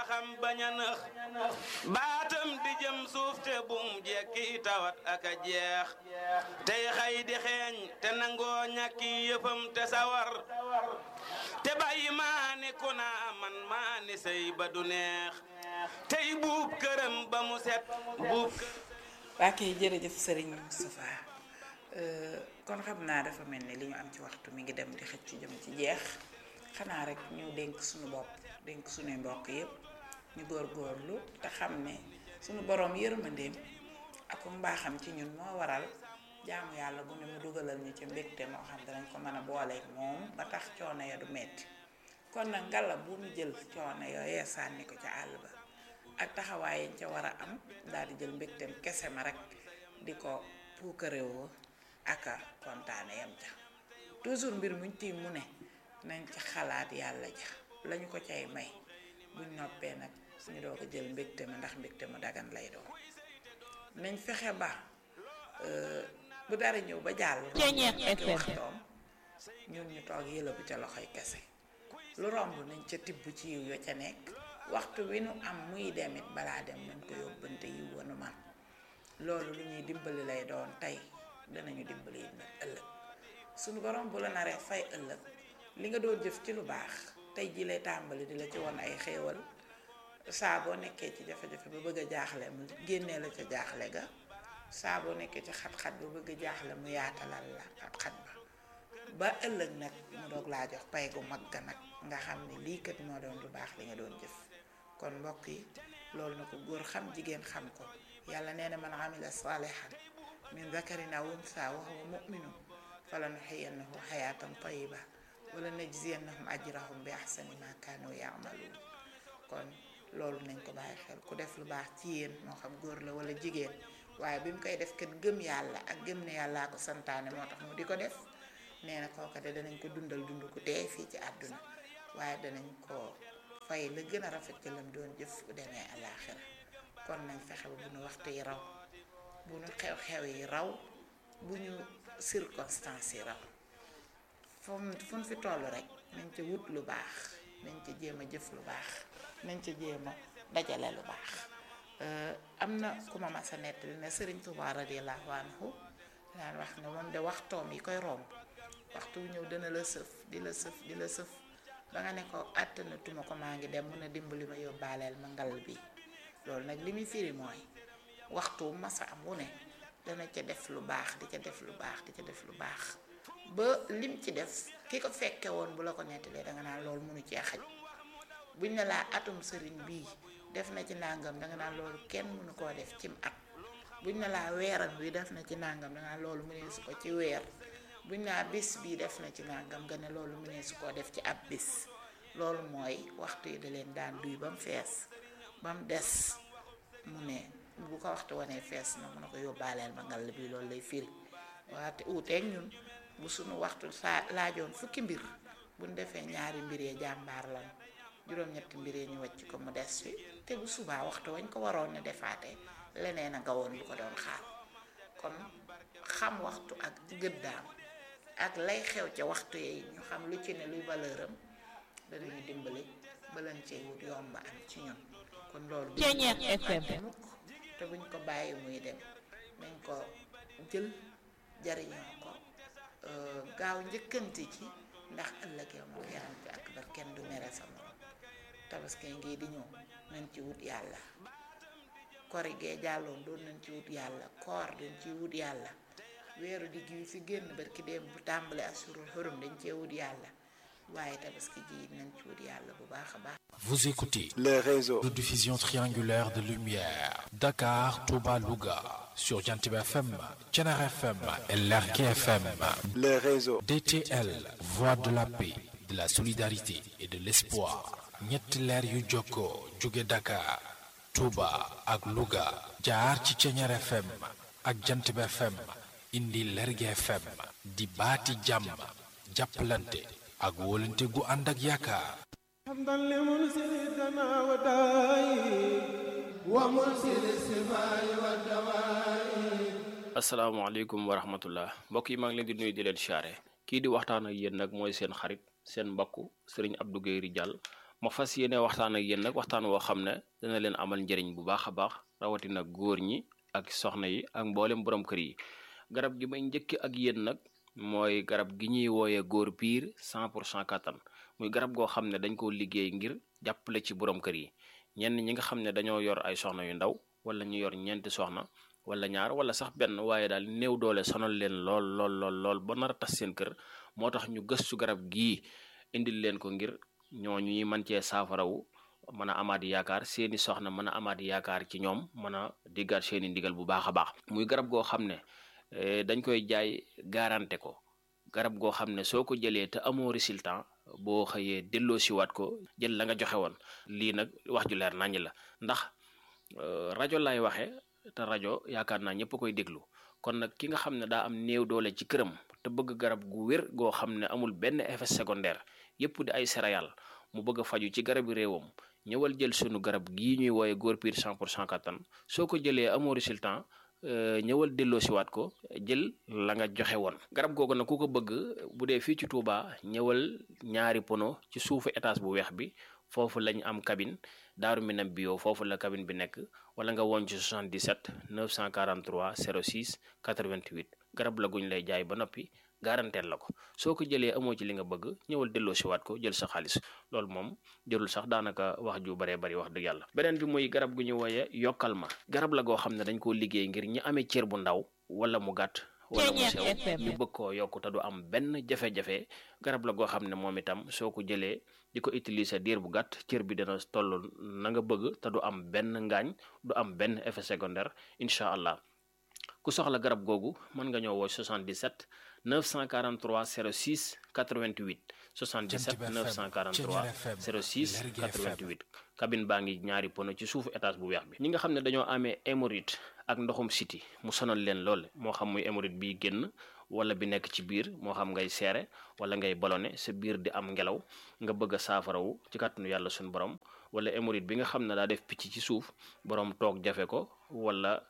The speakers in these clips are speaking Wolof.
waxam bañ a nëx baatam di jëm suuf te bum jekki tawat ak a jeex tey xay di xeeñ te nangoo ñàkki yëfam te sawar te bàyyi maani ku naa man maani sëy ba du neex tey buub këram ba mu set buub waa kay jërëjëf Serigne Moustapha kon xam naa dafa mel ni li ñu am ci waxtu mi ngi dem di xëcc jëm ci jeex xanaa rek ñu dénk suñu bopp dénk suñuy mbokk yépp ñu góorgóorlu te xam ne suñu boroom yërmandeem ak mbaaxam ci ñun moo waral jaamu yàlla bu ne mu dugalal ñu ci mbégte moo xam danañ ko mën a booleeg moom ba tax coono ya du metti kon nag ngalla bu ñu jël coono yooyee sànni ko ca àll ba ak taxawaay yañ ca war a am daal di jël mbégteem kese ma rek di ko puukarewoo aka kontaane yam ca toujours mbir muñ tiim mu ne nañ ci xalaat yàlla ja lañu ko cay may buñ noppee nag ñu doo ko jël mbégte ma ndax mbégte mu dagan lay doon nañ fexe ba bu dara ñëw ba jàll waxtoom ñun ñu toog yëlëbu ca loxoy kese lu romb nañ ca tibb ci yiw yo ca nekk waxtu wi nu am muy demit balaa dem nañ ko yóbbante yiw wanu man loolu lu ñuy dimbali lay doon tey danañu dimbali it nag ëllëg suñu borom bu la naree fay ëllëg li nga doon jëf ci lu baax tey ji lay tàmbali di la ci won ay xéewal saa boo nekkee ci jafe-jafe ba bëgg a jaaxle mu génnee la ca jaaxle ga saa boo nekkee ci xat-xat ba bëgg a jaaxle mu yaatalal la xat-xat ba ëllëg nag mu doog laa jox pay gu mag ga nag nga xam ne lii kat moo doon lu baax li nga doon jëf kon mbokk yi loolu na ko góor xam jigéen xam ko yàlla nee na man amila salihan min zakarin aw unsa wa huwa mu'minun falanuhyiyannahu hayatan tayyiba wala najziyannahum ajrahum bi ahsani ma kanu ya'malun kon loolu nañ ko bàyyi xel ku def lu baax ci yéen moo xam góor la wala jigéen waaye bi mu koy def kat gëm yàlla ak gëm ne yàllaa ko santaane moo tax mu di ko def nee na kooka de danañ ko dundal dund ku teey fii ci àdduna waaye danañ ko fay la gën a rafet ci lam doon jëf bu demee àllaaxira kon nañ fexe ba bu ñu waxtu yi raw bu ñu xew-xew yi raw bu ñu circonstance yi raw fu ñu fi toll rek nañ ca wut lu baax nañ ca jéem a jëf lu baax nañ ca jéem a dajale lu baax am na ku ma mas a nettali ne Sëriñ Tuubaa radiyallaahu anhu daan wax ne moom de waxtoom yi koy romb waxtu wu ñëw dana la sëf di la sëf di la sëf ba nga ne ko àttanatuma ko maa ngi dem mën a dimbali ma yóbbaaleel ma ngal bi loolu nag li muy firi mooy waxtu masa am wu ne dana ca def lu baax di ca def lu baax di ca def lu baax ba lim ci def ki ko fekke woon bu la ko nettalee danga naan loolu mënu cee xaj buñ ne laa atum sëriñ bii def na ci nàngam danga naan loolu kenn mënu koo def cim at buñ ne laa weeram wi def na ci nàngam danga naan loolu mënee su ko ci weer buñ naa bis bii def na ci nàngam nga ne loolu mënee su koo def ci ab bis loolu mooy waxtu yi da leen daan duy ba mu fees ba mu des mu ne bu ko waxtu wanee fees na mun na ko yóbbaaleel ma ngal bi loolu lay firi waate uuteeg ñun bu suñu waxtu saa laajoon fukki mbir buñ defee ñaari mbir yee jàmbaar lan juróom-ñetti mbir yee ñu wàcc ko mu des fi te bu subaa waxtu wañ ko waroon ne defaate leneen a nga woon lu ko doon xaar kon xam waxtu ak gëddaam ak lay xew ca waxtu yi ñu xam lu ci ne luy valeur am danañu dimbali balan cee wut yomb am ci ñun kon loolu mukk te buñ ko bàyyi muy dem nañ ko jël jariñoo ko gaaw njëkkanti ci ndax ëllëg yow moom yaram bi ak bar kenn du mere sa morom tabaski ngi di ñëw nañ ci wut yàlla kori gee jàlloon doon nañ ci wut yàlla koor dañ ci wut yàlla weeru digg wi fi génn barki dem bu tàmbali asurul xurum dañ cee wut yàlla waaye tabaski ji nañ ci wut yàlla bu baax a baax. Vous écoutez le réseau de diffusion triangulaire de lumière Dakar, Touba, Louga sur Jantib FM, Thiénaba FM et Lergui FM. Le réseau DTL, voix de la paix, de la solidarité et de l'espoir. ñetti leer yu jokkoo jóge Dakar, Touba ak Louga jaar ci Thiénaba FM ak Jantib FM indi Lergui FM di baati jàmm jàppalante ak wóolante gu ànd ak yaakaar. asalaamaaleykum wa rahmatullah mbokk yi maa ngi leen di nuyu di leen siyaare kii di waxtaan ak yéen nag mooy seen xarit seen mbokk Serigne Abdou Guèye Ridial ma fas yéene waxtaan ak yéen nag waxtaan woo xam ne dana leen amal njëriñ bu baax a baax rawatina góor ñi ak soxna yi ak mboolem borom kër yi. garab gi may njëkk ak yéen nag mooy garab gi ñuy wooyee góor piir 100% kattan muy garab goo xam ne dañ koo liggéey ngir jàppale ci borom kër yi ñenn ñi nga xam ne dañoo yor ay soxna yu ndaw wala ñu yor ñeenti soxna wala ñaar wala sax benn waaye daal néew doole sonal leen lool ba nar a tas seen kër moo tax ñu gëstu garab gii indil leen ko ngir ñooñu ñuy mën cee saafarawu mën a amaat yaakaar seeni soxna mën a amaat yaakaar ci ñoom mën a diggaat seeni ndigal bu baax a baax. muy garab goo xam ne dañ koy jaay garanté ko garab goo xam ne soo ko jëlee te amoo résultat boo xëyee delloo siwaat ko jël la nga joxe woon. lii nag wax ju leer naññ la ndax rajo lay waxe te rajo yaakaar naa ñëpp koy déglu kon nag ki nga xam ne daa am néew doole ci këram te bëgg garab gu wér goo xam ne amul benn effet secondaire yëpp di ay céréales mu bëgg a faju ci garabi réewam ñëwal jël sunu garab gii ñuy wooye góor piir 100% kattan soo ko jëlee amoo résultat ñëwal delloo siwaat ko jël la nga joxe woon. garab googu nag ku ko bëgg bu dee fii ci Touba ñëwal ñaari pono ci suufu étage bu weex bi foofu lañ am cabine Daaru Minam bio foofu la cabine bi nekk wala nga woon ci 77 943 06 88 garab la guñ lay jaay ba noppi garanteel la ko soo ko jëlee amoo ci li nga bëgg ñëwal delloo siwaat ko jël sa xaalis loolu moom jërul sax daanaka wax ju baree bari wax dëgg yàlla. beneen bi muy garab gu ñu wooye yokkal ma garab la goo xam ne dañ koo liggéey ngir ñi amee cër bu ndaw wala mu gàtt wala mu sew ñu bëgg koo yokk te du am benn jafe-jafe garab la goo xam ne moom itam soo ko jëlee di ko utiliser diir bu gàtt cër bi dana toll na nga bëgg te du am benn ngaañ du am benn effet secondaire incha allah. ku soxla garab googu mën nga ñëw woo 77 943 06 88 77 943 06 88 cabine baa ngi ñaari pono ci suufu étage bu weex bi. ñi nga xam ne dañoo amee hémorroïde ak ndoxum siti mu sonal leen lool moo xam muy hémorroïde bi génn wala bi nekk ci biir moo xam ngay seere wala ngay ballonné sa biir di am ngelaw nga bëgg a saafarawu ci kàttanu yàlla suñu borom wala hémorroïde bi nga xam ne daa def picc ci suuf borom toog jafe ko wala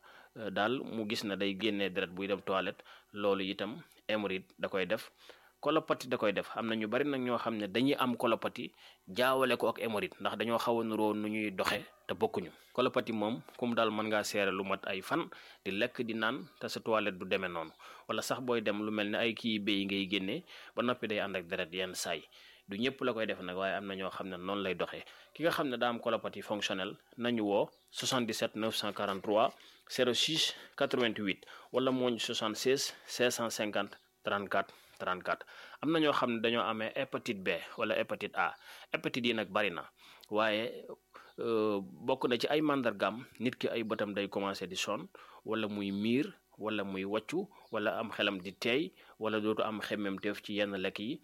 daal mu gis na day génnee deret buy dem toilette loolu itam hémorroïde da koy def. colopathie da koy def am na ñu bari nag ñoo xam ne dañuy am colopathie jaawale ko ak hémorroïde ndax dañoo xaw a nuroo nu ñuy doxe te bokkuñu. colopathie moom kum daal mën ngaa seere lu mat ay fan di lekk di naan te sa toilette du demee noonu wala sax booy dem lu mel ne ay kii béy ngay génnee ba noppi day ànd ak deret yenn saay du ñëpp la koy def nag waaye am na ñoo xam ne noonu lay doxee. ki nga xam ne daa am colopathie fonctionnelle nañu woo 77 943 06 88 wala mooñ 76 650 34 34. am na ñoo xam ne dañoo amee hépatite B wala hépatite A hépatite yi nag bari na waaye bokk na ci ay màndargaam nit ki ay bëtam day commencé di sonn wala muy miir wala muy wàccu wala am xelam di teey wala dootu am xemmemteef ci yenn lekk yi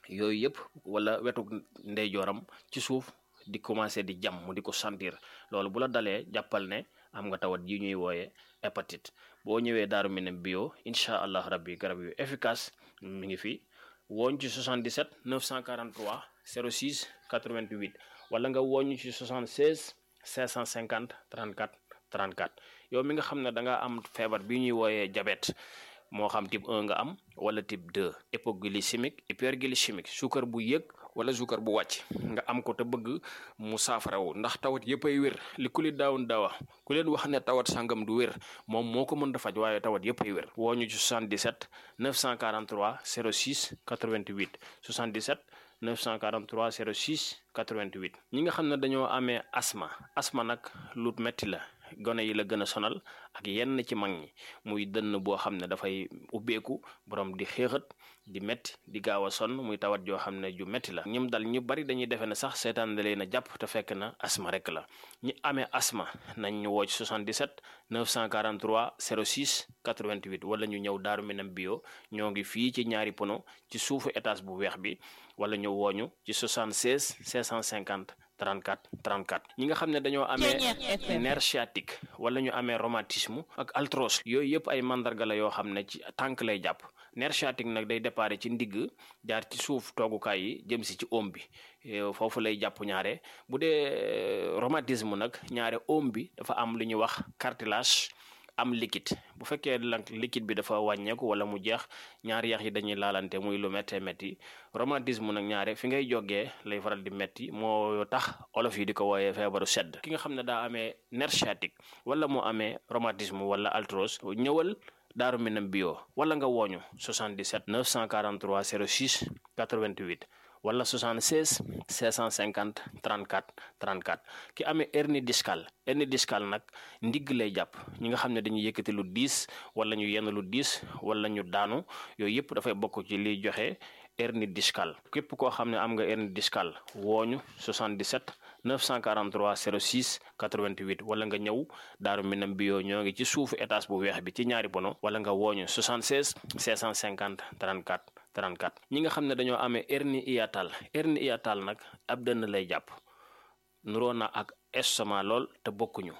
yooyu yëpp wala wetu ndeyjooram ci suuf di commencé di jam mu di ko sentir loolu bu la dalee jàppal ne am nga tawat yi ñuy wooye hépatite. boo ñëwee Daaru Minam bio incha allah rabbi garab yu efficace mi ngi fi wooñ ci 77 943 06 88 wala nga wooñ ci 76 550 34 34. yow mi nga xam ne da nga am feebar bi ñuy wooyee diabète moo xam type 1 nga am wala type 2 hypoglycémique hyperglycémique suukar bu yëg wala suukar bu wàcc nga am ko te bëgg mu saafarawu ndax tawat yëpp ay wér li ku li daawun daawa ku leen wax ne tawat sangam du wér moom moo ko mën a faj waaye tawat yëpp ay wér. woo ñu ci 77 943 06 88 77 943 06 88. ñi nga xam ne dañoo amee asma nag lu metti la. gone yi la gën a sonal ak yenn ci mag ñi muy dënn boo xam ne dafay ubbeeku borom di xéexat di metti di gaaw a sonn muy tawat joo xam ne ju metti la ñim dal ñu bari dañuy defe ne sax seetaan da leen a jàpp te fekk na asma rek la. ñi amee asma nañ ñu woo ci 77 943 06 88 wala ñu ñëw Daaru Minam bio ñoo ngi fii ci ñaari pono ci suufu étage bu weex bi wala ñu wooñu ci 76 550 34 34. ñi nga xam ne dañoo amee nerf sciatique wala ñu amee rhumatisme ak arthrose yooyu yëpp ay mandarga la yoo xam ne ci tànk lay jàpp. nerf sciatique nag day déparé ci ndigg jaar ci suuf toogukaay yi jëm si ci oom bi foofu lay jàpp ñaare bu dee rhumatisme nag ñaare oom bi dafa am lu ñuy wax cartilage am liquide bu fekkee nag liquide bi dafa wàññeeku wala mu jeex ñaari yax yi dañuy laalante muy lu méttee métti rhumatisme nag ñaare fi ngay jógee lay faral di métti moo tax olof yi di ko wooyee feebaru sedd ki nga xam ne daa amee nerf sciatique wala mu amee rhumatisme wala arthrose ñëwal Daaru Minam bio wala nga wooñu 77 943 06 88 wala 76 650 34 34 ki amee hernie discale nag ndigg lay jàpp ñi nga xam ne dañuy yëkkati lu diis wala ñu yenn lu diis wala ñu daanu yooyu yëpp dafay bokk ci liy joxe hernie discale képp koo xam ne am nga hernie discale wooñu 77 943 06 88 wala nga ñëw Daaru Minam bio ñoo ngi ci suufu étage bu weex bi ci ñaari pono wala nga wooñu 76 650 34 34 ñi nga xam ne dañoo amee hernie hiatale nag ab dënn lay jàpp nuroo na ak estomac lool te bokkuñu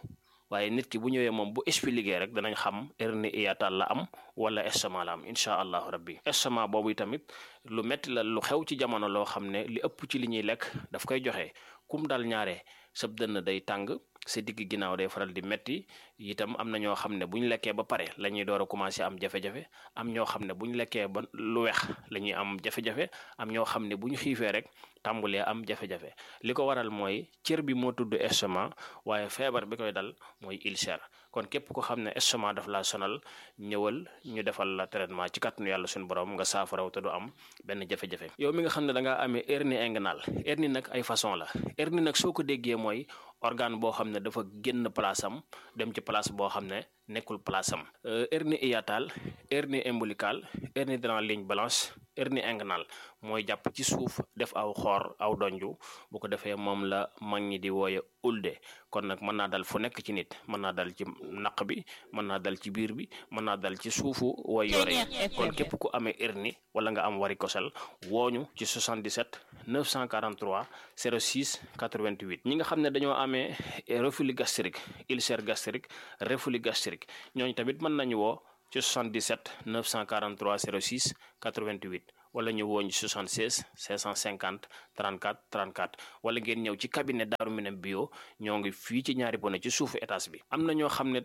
waaye nit ki bu ñëwee moom bu expliqué rek danañ xam hernie hiatale la am wala estomac la am incha allahu rabbi estomac boobu tamit lu metti la lu xew ci jamono loo xam ne li ëpp ci li ñuy lekk daf koy joxe kum dal ñaare sab dënn day tàng sa digg ginnaaw day faral di metti itam am na ñoo xam ne bu ñu lekkee ba pare la ñuy door a commencé am jafe-jafe am ñoo xam ne bu ñu lekkee ba lu weex la ñuy am jafe-jafe am ñoo xam ne bu ñu xiifee rek tàmbulee am jafe-jafe li ko waral mooy cër bi moo tudd estomac waaye feebar bi koy dal mooy ulcère kon képp ko xam ne estomac daf laa sonal ñëwal ñu defal la traitement ci kàttanu yàlla suñu borom nga saafaraw te du am benn jafe-jafe yow mi nga xam ne da ngaa amee hernie inguinale hernie nag ay façon la hernie nag soo ko déggee mooy organe boo xam ne dafa génn place am dem ci place boo xam ne nekkul place am hernie hiatale hernie ombilicale hernie dans la ligne blanche hernie inguinale mooy jàpp ci suuf def aw xoor aw donju bu ko defee moom la mag ñi di wooye ulde kon nag mën naa dal fu nekk ci nit mën naa dal ci naq bi mën naa dal ci biir bi mën naa dal ci suufu way yore yi kon képp ku amee hernie wala nga am varicocèle wooñu ci 77 943 06 88 ñi nga xam ne dañoo amee reflux gastrique ulcère gastrique reflux gastrique ñooñu tamit mën nañu woo ci 77 943 06 88 wala ñu wooñ 76 550 34 34 wala ngeen ñëw ci cabinet Daaru Minam bio ñoo ngi fii ci ñaari bone ci suufu étage bi am na ñoo xam ne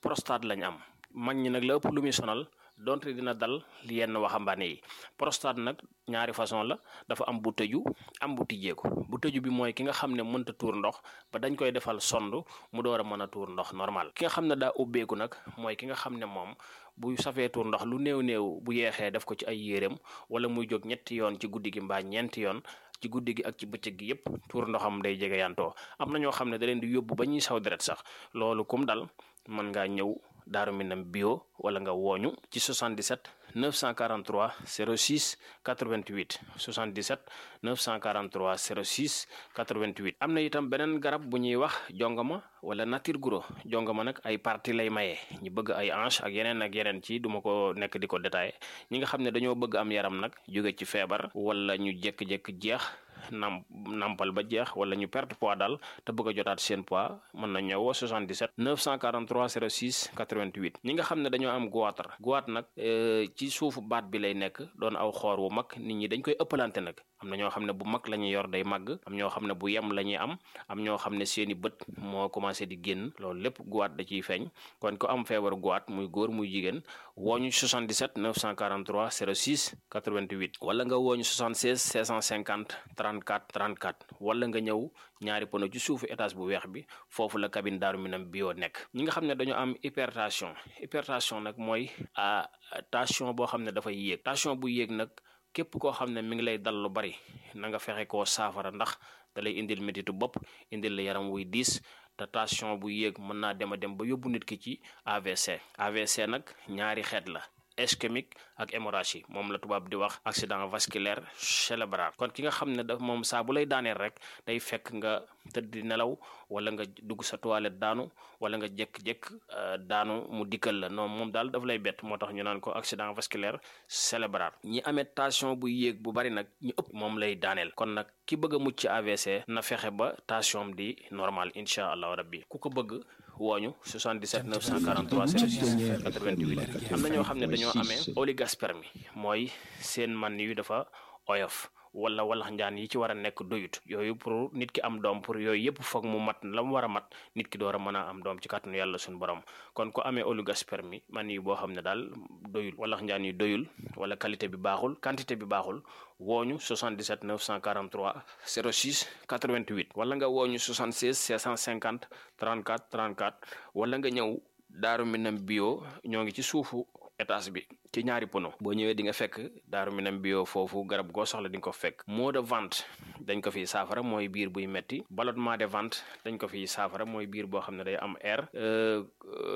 prostate lañ am mag ñi nag la ëpp lu muy sonal donte dina dal yenn waxambaane yi prostate nag ñaari façon la dafa am bu tëju am bu tijjeeku bu tëju bi mooy ki nga xam ne mënta tuur ndox ba dañ koy defal sond mu door a mën a tuur ndox normal ki nga xam ne daa ubbeeku nag mooy ki nga xam ne moom bu safee tuur ndox lu néew bu yeexee def ko ci ay yéreem wala muy jóg ñetti yoon ci guddi gi mbaa ñeenti yoon ci guddi gi ak ci bëccëg gi yépp tuur ndoxam day jege yantoo am na ñoo xam ne da leen di yóbbu ba ñuy saw deret sax loolu kum dal mën ngaa ñëw Daaru Minam bio wala nga wooñu ci 77 943 06 88 77 943 06 88 am na itam beneen garab bu ñuy wax jongama wala nature guro jongama nag ay parti lay maye ñi bëgg ay hanche ak yeneen ci duma ko nekk di ko détaillé ñi nga xam ne dañoo bëgg am yaram nag jóge ci feebar wala ñu jékki-jékki jeex nampal ba jeex wala ñu perte poids daal te bëgg a jotaat seen poids mën na ñëw 77 943 06 88 ñi nga xam ne dañoo am goitre nag ci suufu baat bi lay nekk doon aw xoor wu mag nit ñi dañ koy ëppalante nag am na ñoo xam ne bu mag la ñuy yor day màgg am ñoo xam ne bu yem la ñuy am ñoo xam ne seeni bët moo commencé di génn loolu lépp goitre da ciy feeñ kon ko am feebaru goitre muy góor muy jigéen wooñu 77 943 06 88 wala nga wooñu 76 650 34 34 wala nga ñëw ñaari pono ci suufu étage bu weex bi foofu la cabine Daaru Minam bio nekk ñi nga xam ne dañoo am hypertension nag mooy tension boo xam ne dafay yéeg tension bu yéeg nag képp koo xam ne mi ngi lay dal lu bari na nga fexe koo saafara ndax da lay indil métitu bopp indil la yaram wuy diis te tension bu yéeg mën naa dem ba yóbbu nit ki ci AVC nag ñaari xeet la ischémique ak hémorragie moom la tubaab di wax accident vasculaire cérébral kon ki nga xam ne daf moom saa bu lay daaneel rek day fekk nga tëdd di nelaw wala nga dugg sa toilette daanu wala nga jékk-jékk daanu mu dikkal la non moom daal daf lay bett moo tax ñu naan ko accident vasculaire cérébral ñi amee tension bu yéeg bu bari nag ñu ëpp moom lay daaneel kon nag ki bëgg a mucc ci AVC na fexe ba tension di normal incha allah rabbi ku ko bëgg wooñu 77 943 06 88 am na ñoo xam ne dañoo amee oligospermie mooy seen man yu dafa oyof wala walax njaan yi ci war a nekk doyut yooyu pour nit ki am doom pour yooyu yëpp foog mu mat la mu war a mat nit ki door a mën a am doom ci kàttanu yàlla suñu borom kon ko amee oligospermie man yi boo xam ne daal doyul walax njaan yi doyul wala qualité bi baaxul quantité bi baaxul wooñu 77 943 06 88 wala nga wooñu 76 650 34 34 wala nga ñëw Daaru Minam bio ñoo ngi ci suufu étage bi ci ñaari pono boo ñëwee di nga fekk Daaru Minam bio foofu garab goo soxla di nga ko fekk maux de ventre dañ ko fiy saafara mooy biir buy metti ballonnement de ventre dañ ko fiy saafara mooy biir boo xam ne day am air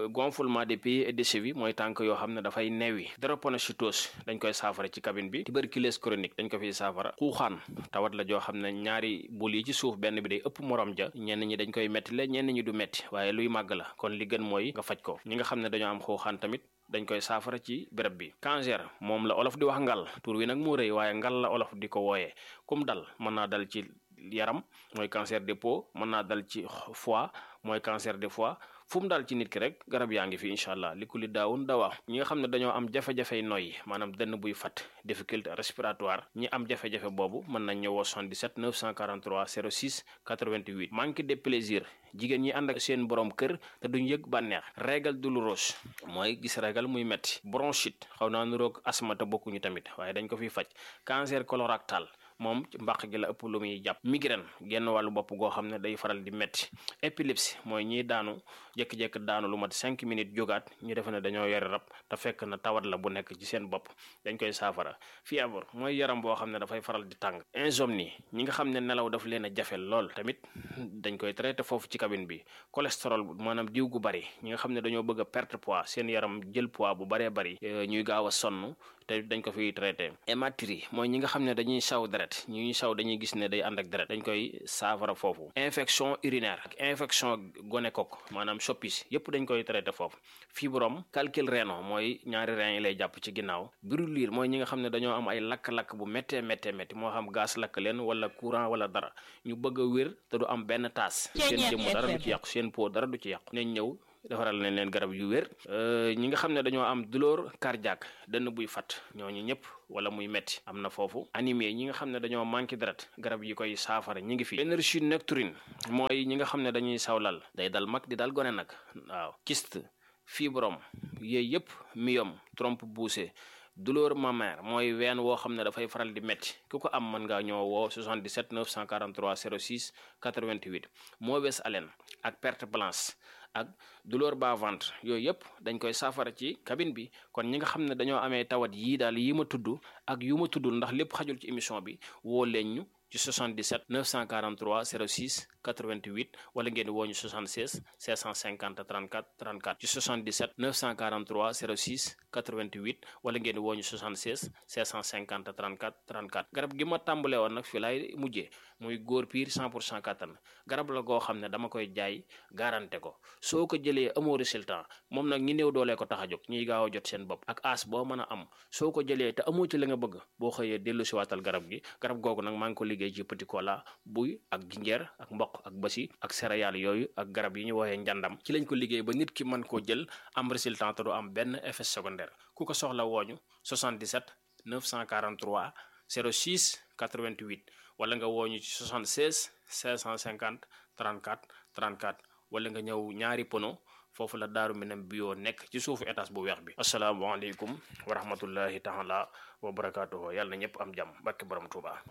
gonflement des pieds et des chevilles mooy tànk yoo xam ne dafay newi drépanocytose dañ koy saafara ci cabine bi tuberculose chronique dañ ko fiy saafara xuuxaan tawat la joo xam ne ñaari bul yi ci suuf benn bi day ëpp morom ja ñenn ñi dañ koy metti la ñenn ñi du metti waaye luy màgg la kon li gën mooy nga faj ko ñi nga xam ne dañoo am xuuxaan tamit dañ koy saafara ci béréb bi cancer moom la olof di wax ngal tur wi nag moo rëy waaye ngal la olof di ko wooyee kum dal mën naa dal ci yaram mooy cancer de peau mën naa dal ci foie mooy cancer de foie fu mu daal ci nit ki rek garab yaa ngi fi incha allah li ku li daawun dawaa ñi nga xam ne dañoo am jafe-jafey noyyi maanaam dënn buy fat difficulté respiratoire ñi am jafe-jafe boobu mën nañ ñëwoo 77 943 06 88 manque de plaisir jigéen ñi ànd ak seen borom kër te duñ yëg bànneex régal douloureuse mooy gis régal muy metti bronchite xaw naa nuroog asthme te bokkuñu tamit waaye dañ ko fiy faj cancer colorectal moom ci mbàq gi la ëpp lu muy jàpp migraine genn wàllu bopp goo xam ne day faral di metti épilepsie mooy ñiy daanu jékki-jékki daanu lu mat 5 minutes jógaat ñu defe ne dañoo yore rab te fekk na tawat la bu nekk ci seen bopp dañ koy saafara fièvre mooy yaram boo xam ne dafay faral di tàng insomnie ñi nga xam ne nelaw daf leen a jafe lool tamit dañ koy traité foofu ci cabine bi cholestérol maanaam diw gu bari ñi nga xam ne dañoo bëgg a perte poids seen yaram jël poids bu baree bari ñuy gaaw a sonn te dañ ko fiy traité hématurie mooy ñi nga xam ne dañuy saw deret ñuy saw dañuy gis ne day ànd ak deret dañ koy saafara foofu infection urinaire ak infection gonocoque maanaam soppis yépp dañ koy traité foofu fibrome calcul rénal mooy ñaari rein yi lay jàpp ci ginnaaw brûlure mooy ñi nga xam ne dañoo am ay lakk-lakk bu méttee moo xam gaz lakk leen wala courant wala dara ñu bëgg a wér te du am benn taas seen jëmm dara du ci yàqu seen peau dara du ci yàqu nañ ñëw defaral nañ leen garab yu wér ñi nga xam ne dañoo am douleur cardiaque dënn buy fat ñooñu ñëpp wala muy metti am na foofu anémie ñi nga xam ne dañoo manqué deret garab yi koy saafara ñi ngi fi énergie nocturne mooy ñi nga xam ne dañuy sawlal day dal mag di dal gone nag waaw kyste fibrome yooyu yëpp myome trompe poussée douleur mammaire mooy ween woo xam ne dafay faral di metti ku ko am mën ngaa ñëw woo 77 943 06 88 mauvaise haleine ak perte blanche ak douleur bas ventre yooyu yëpp dañ koy saafara ci cabine bi kon ñi nga xam ne dañoo amee tawat yii daal yi ma tudd ak yu ma tuddul ndax lépp xajul ci émission bi woo leen ñu ci 77 943 06 88 wala ngeen woo ñu 76 650 34 34 ci 77 943 06 88 wala ngeen woo ñu 76 650 34 34 garab gi ma tàmbalee woon nag fii laay mujjee muy góor piir 100% kattan garab la goo xam ne dama koy jaay garanté ko soo ko jëlee amoo résultat moom nag ñi néew doolee ko tax a jóg ñiy gaaw a jot seen bopp ak as boo mën a am soo ko jëlee te amoo ci la nga bëgg boo xëyee dellu si waatal garab gi garab googu nag maa ngi ko liggéey ci petit cola buy ak jinjeer ak mboq ak basi ak céréales yooyu ak garab yi ñu woowee njàndam ci lañ ko liggéey ba nit ki mën koo jël am résultat te du am benn effet secondaire ku ko soxla wooñu 77 943 06 88 wala nga wooñu ci 76 550 34 34 wala nga ñëw ñaari pono foofu la Daaru Minam bio nekk ci suufu étage bu weex bi asalaamaaleykum wa rahmatullahi taala wa barakaatuhu yàlla na ñëpp am jàmm barke borom Tuuba